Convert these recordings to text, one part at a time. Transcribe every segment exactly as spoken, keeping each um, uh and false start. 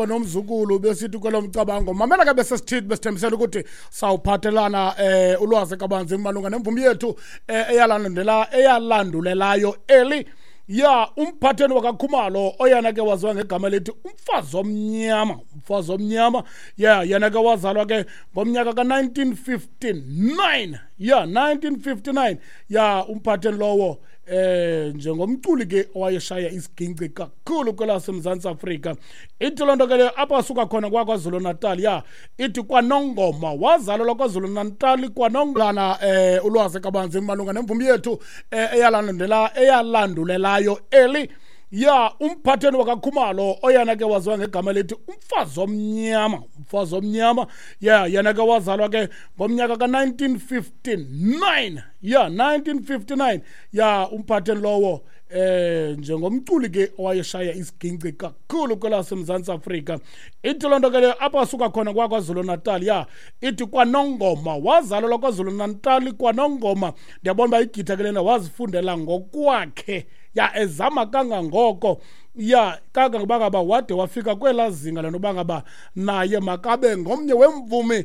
Nomzukulu besithi kwelo mcabango, mamela ke, besesithithi besithembisela ukuthi sawuphathelana eh ulwazi kabanzi malunga nemvumi yethu eh, eyalandela eyalandulelayo eli ya umphatheni wakaKhumalo, oyena ke waziwa ngegama elithi umfazi omnyama, umfazi omnyama. Ya, yena ke wazalwa ke ngomnyaka ka-nineteen fifty-nine, ya, nineteen fifty-nine. Ya, umphatheni lowo eh njengomculi ke owayeshaya isiginci kakhulu kwelaseMzantsi Afrika. Ithi loo nto ke leyo apho asuka khona kwaKwaZulu Natal. Ya, ithi kwaNongoma, wazalelwa KwaZulu Natal kwaNongana. eh ulwazi kabanzi malunga nemvumi yethu eh, eyalandela eyalandulelayo eli ya umphatheni wakaKhumalo, oyena ke waziwa ngegama elithi umfazi omnyama, umfazi omnyama. Ya, yena ke wazalwa ke ngomnyaka ka-nineteen fifty-nine, ya, nineteen fifty-nine. Ya, umphatheni lowo eh njengomculi ke owayeshaya isiginci kakhulu kwelaseMzantsi Afrika. Ithi loo nto ke leyo apho asuka khona kwaKwaZulu Natal. Ya, ithi kwaNongoma, wazalelwa KwaZulu Natal kwaNongoma. Ndiyabona uba igitha ke lena wazifundela ngokwakhe, ya, ezama kangangoko, ya, kangangoba ngaba wade wafika kwelaa zinga lenoba ngaba naye makabe ngomnye wemvumi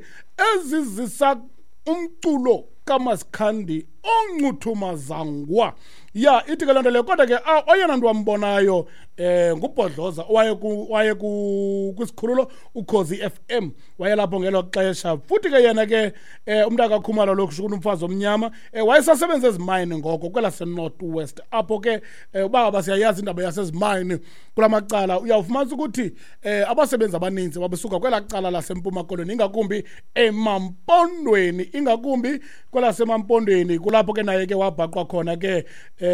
ezizisa umculo kaMasikhandi oncuthumazangwa. Ya, ithi ke loo nto leyo, kodwa ke oyena nto wambonayo eh ngubhodloza owaye waye kwisikhululo Ukhozi F M, wayelapho ngelo xesha. Futhi ke yena ke eh umntu akaKhumalo lo, kusho umfazi omnyama, eh wayesasebenza ezimayini ngoko kwelase-North West apho ke. eh uba ngaba siyayazi indaba yasezimayini kulamacala, uyawufumanisa ukuthi eh abasebenzi abaninzi babesuka kwelaa cala laseMpuma Koloni, ingakumbi emaMpondweni, ingakumbi kwelaseMampondweni, kulapho ke naye ke wabhaqwa khona ke eh